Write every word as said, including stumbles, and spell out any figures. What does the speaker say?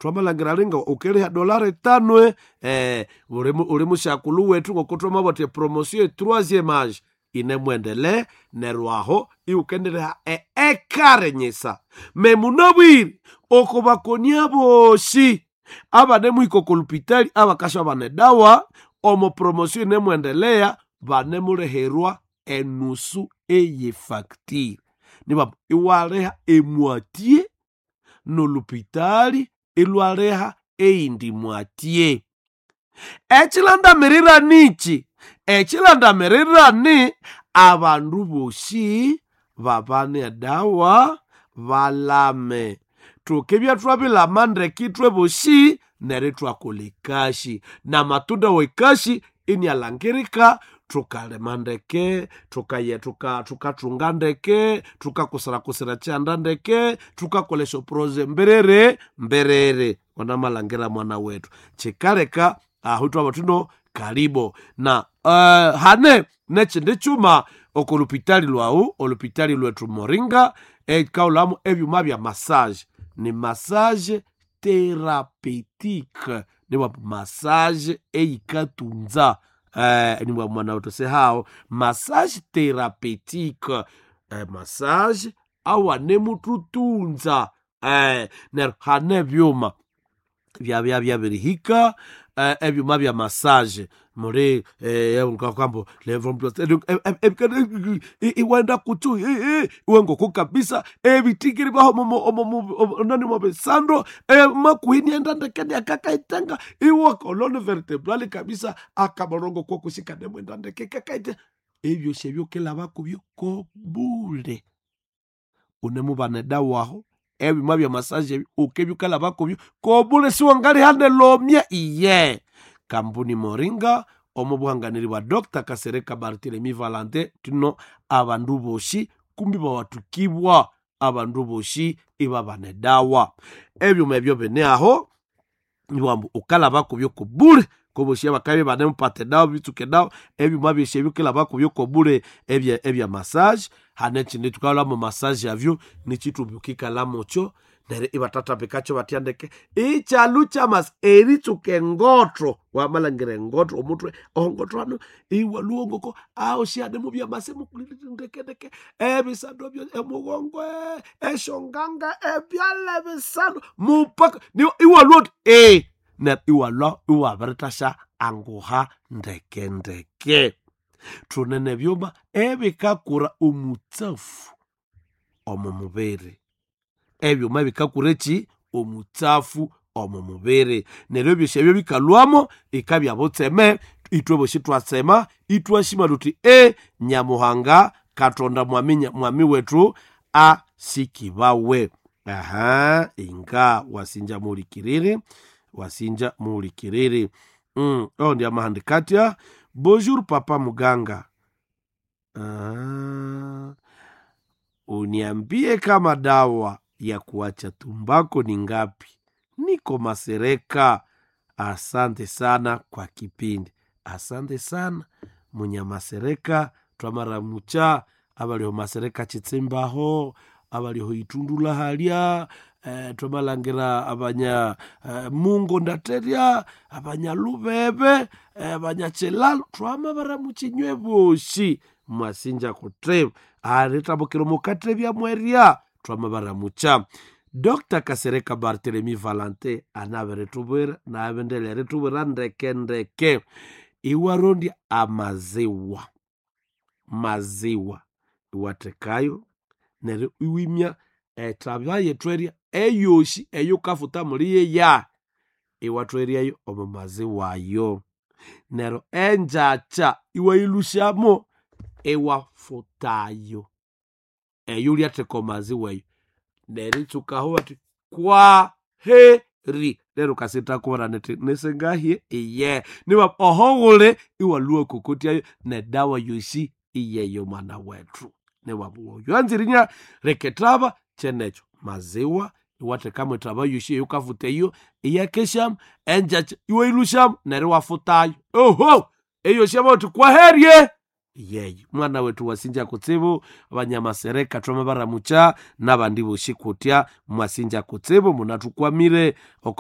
Twamalangira linga ukeliha dolari itano eh, uli uli musyakulu wethu ngoko twamabwatha epromotion troisième age inemwendele neryo aho iwukendiliha eekare nyisa. Me munabwire oko bakonia bosi abanemuhika oko lupitali abakasya edawa omo promotion inemwendelea banemulihirwa enusu eyefacture. Nibambu iwaliha emwatye nolupitali ilwaliha eyindi mwatye. Ekilandamirira niki? Ekilandamirira ni abandu bosi babane edawa balame. Tukibya twabilama ndeke ithwe bosi neryo ithwakolha ekasi namatunda wekasi inialangirika thukalima ndeke, thukaye thuka thukathunga ndeke, thukakusirakusira ekyihanda ndeke, thukakolha esyoproje mbiriri mbiriri. Wanamalhangira mwana wethu kyikaleka aho ithwabugha thuno kalibo na uh, hane nekyindi kyuma oko lupitali lwawu olupitali lwethu Moringa ekaghulhamu ebyuma bya massage ni massage thérapeutique niwa massage eyikatunza eh, niwa mwana wethu sihawo massage thérapeutique eh, massage awanemuthutunza eh, neryo hane ebyuma byabya byabirihika eh, ebyuma bya massage muli eh, iwenda kutsu iwe ngoko kabisa ebitikiri baho nani mubisando makuhini enda ndeke akakaitenga iwe colonne vertébrale kabisa akaborongo kokusika nemwenda ndeke kakaite ebyosi ebyo kilaba kubyo kobule unemubana edawa aho ebyuma bya massage ebyo ukebya ukalaba kubyo kobule siwangalihane lomya iye kambuni Moringa omo buhanganiri bwa Dr Kasereka Barthelemy Valentin tino abandu bosi kumbi bawathukibwa abandu bosi ibabana edawa ebyuma ebyo bine aho niwambu ukalaba kubyo kobule kobosi abakabya banemupata edawa bitsuka edawa ebyuma byosi ebyo ukilaba kubyo kobule ebya ebya massage hane ekindi thukalhwamu massage avyo nikyithumbi ukikalhamukyo neryo ibathathambikakyo batya ndeke ikyalhu kyamas eritsuka engotho wamalhangira engotho omuthwe ongotho hano iwalhuwa ngoko aho mubya mase ndeke ndeke ebisando byo emugongo esyonganga ebyalha ebisando mupaka iwalhuwa uthi e neryo iwalhwa iwabirithasya anguha ndeke ndeke. Thune nebyuma ebikakura omutsafu omo mubiri ebyuma bikakura eki omutsafu omo mubiri neryo ebyosi ebyo bikalhwamo ikabya butseme ithwe bosi ithwatsema ithwasima thuthi e nyamuhanga katonda mwami, mwami wethu asikibawe. Aha inga wasinja muhulikiriri wasinja muhulikiriri mm, oyo ndi amahandikatya bonjour papa muganga. Ah, uniambie kama dawa ya kuacha tumbako ni ngapi? Niko Masereka. Asante sana kwa kipindi. Asante sana Munyamasereka twamaramucha abaliho Masereka Chitsimbaho abaliho Itundula halya eh, twamalhangira abanya eh, Mungo ndaterya abanya Lubebe eh, abanya Chilalo twamabaramucha inywe bosi mwasinja kutsibu alitambukira mukathebya mwerya twamabaramucha. Dr Kasereka Barthelemy Valentin anabiritubwira nabindele eritubwira ndeke ndeke iwarondya amaziwa maziwa iwathekayo neryo iwimya ethabya yethu eyosi eyukafuta muli yeya iwathweryayo omo maziwa ayo neryo engyakya iwayilhusyamo iwafutayo eyo lyatheka omaziwa eyo neryo itsukaho bathi kwaheri neryo ukasithakuwira nithi nisingahye iye niba oho ghuli iwalhuwa kokotyayo nedawa yosi iyeyo mwana wethu niwabuwa oyo anzirinya rekethaba kyenekyo maziwa iwathekamu ethaba yosi eyukafuta eyo iyakesyamu engyakya iwayilhusyamu neryo iwafutayo oho eyosi yamabugha ithi kwaherye yeyo mwana wethu wasinja kutsibu abanyamasereka twamabaramucha nabandi bosi kutya mwasinja kutsibu munathukwamire oko